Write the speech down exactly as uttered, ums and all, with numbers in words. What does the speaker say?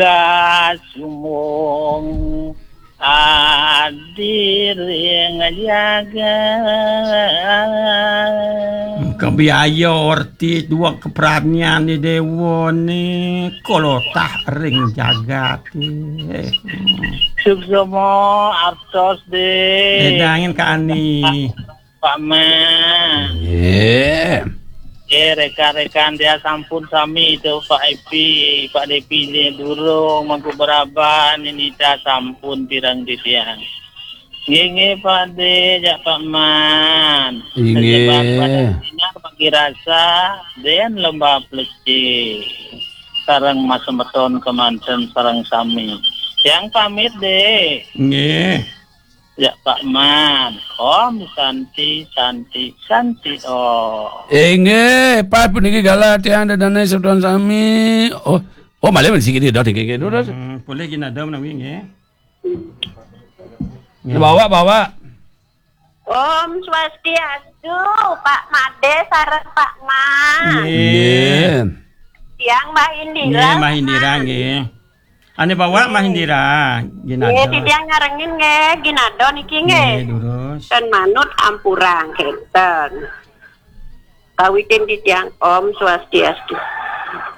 Kasumung adiring jagat. Kebiaya orti dua kepranian di dewa ni kolotah ring jagat ni. Suksma artos de. Edangin Kak Ani. Pak Ma. Nggih. Nggih, rekan-rekan dia sampun sami tu, Pak Epi, Pak Depi ni durung, Mangku Beraban, Ninita sampun pireng titiang. Nggih, nggih, Pak De, jak Pak Man. Inggih. Sejeban pada sinar bagi rasa, den lomba pleci. Sareng Mas Semeton kemanten sareng sami. Tiang pamit, De. Nggih. Ya, Pak Man. Om Santi, Santi, Santi Om. Inggih, pas puniki galah tiang dedane semeton sami. Oh, oh, malih siki dah, nggih, nggih, terus. Hmm, boleh gini ada menawi, nggih. Nggih. Bawa, bawa. Om Swastiastu, Pak Made sareng Pak Man. Nggih. Nggih. Tiang Mbah Indira. Nggih, Mbah Indira, nggih. Ane bawa Mbah Indira, nggih, ginado. Nggih, titiang nyarengin nggih, ginado niki nggih. Nggih, durus. Ten manut ampurang kenten. Kawitin titiang Om Swastiastu.